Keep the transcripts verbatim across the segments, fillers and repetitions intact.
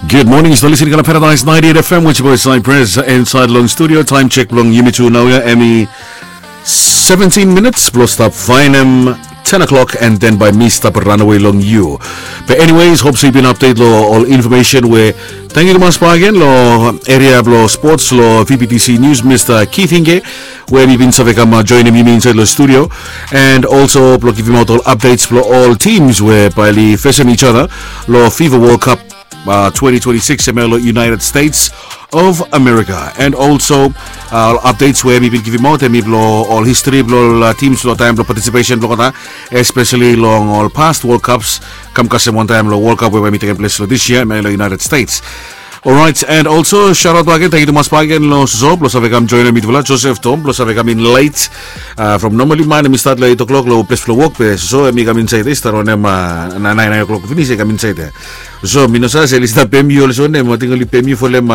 Good morning, yu stap listening long Paradise ninety-eight F M with your boy Cypress inside long studio. Time check blong yumi tu naoia, hemi seventeen minutes blong stap faenem ten o'clock, and then bae mi stap ranawe long yu. But anyways, hope se yu bin update long ol information we, tangkiu tumas bakegen long area blong sports long V B T C News, Mr Keith Hinge, we hemi bin save kam joenem yumi insaed long studio, and also blong givimaot ol updates blong ol teams we bae oli fesem each other long FIFA World Cup twenty twenty-six hemia long United States of America. And also ol updates we hemi bin givimaot hemi blong ol history blong ol teams long taem blong participation blong olgeta, especially long ol past World Cups, kam kasem wantaem long World Cup we bae hemi tekem ples long this year hemia long United States. Orait, and also shout out bakegen, tangkiu tumas bakegen long Soso blong save kam joenem mitufala, Joseph Tom blong save kam in late. From normally man hemi stat long eight o'clock long ples blong wok, be Soso hemi kam insaed ya, i stat wanem, naen o'clock finis i kam insaed ya. So mi no save se oli stap pem yu olsem wanem, ating oli pem yu folem,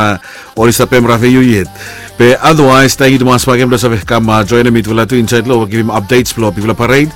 oli stap pem rafeyu yet. Be otherwise, tangkiu tumas bakegen blong save kam joenem mitufala tu insaed long givim updates blong bigfala parade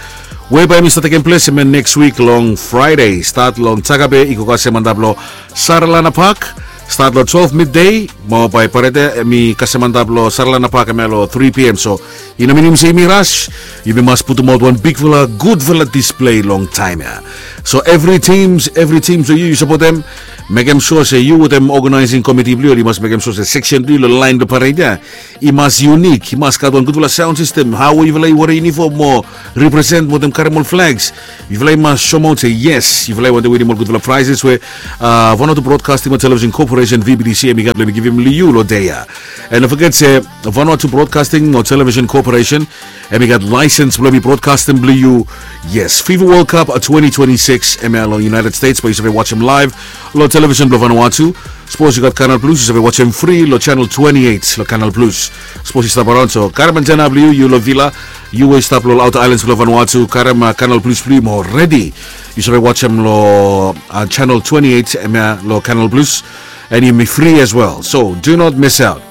we bae hemi stap tekem ples hemia next week long Friday, stat long Jakabe i go kasem antap long Saralana Park, stat long twelve midday. Mo bae parade ya hemi kasem antap long Saralana Park hemia long three p.m. So i no minim se yumi ras, yumi mas putumaot wan bigfala gudfala display long taem ya. So evri teams, evri teams we yu yu sapotem, mekem sua se yu wetem organizing committee blong yu oli mas mekem sua se section blong yu long laen blong parade ya i mas unique, i mas gat wan gudfala sound system. Hao we yufala i werim yunifom mo represent wetem karem ol flags, yufala i mas soemaot se yes, yufala i wantem winim ol gudfala prizes we Vanuatu Broadcasting mo Television Corporation, V B T C, hemi gat blong hemi givim long yu long dei ya. And no foget se Vanuatu Broadcasting mo Television Corporation hemi gat laesens blong hemi brodkastem blong yu. Yes, FIFA World Cup twenty twenty-six hemia long United States bae yu save wajem laev long television blong Vanuatu. Sapos yu gat Canal Plus, yu save wajem fri long channel twenty-eight long Canal Plus. Sapos yu stap araon, so karem antena blong yu, yu long villa, yu we yu stap long ol outer islands blong Vanuatu, karem Canal Plus blong yu mo redi, yu save wajem long channel twenty-eight hemia long Canal Plus, and hemi fri as well. So do not miss out.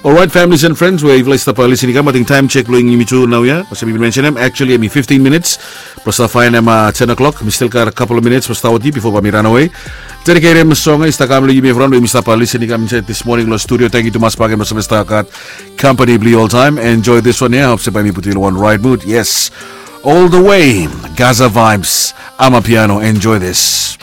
Orait, families and friends we yufala i stap listening i kam, ating taem check blong yumi tu naoia, olsem mi bin mensenem, actually hemi fifteen minutes blong stap faenem ten o'clock. Mi stil gat a couple of minutes blong stap wetem yu bifo bae mi ranawe. Dediketem song ya i stap kam long yumi evriwan we yumi stap listening i kam insaed this morning long studio. Tangkiu tumas bakegen blong save stap gat kampani blong yu oltaem. Enjoy this one ya, hop se bae mi putum yu long wan right mood. Yes, all the way, Gaza Vibes, Amapiano. Enjoy this.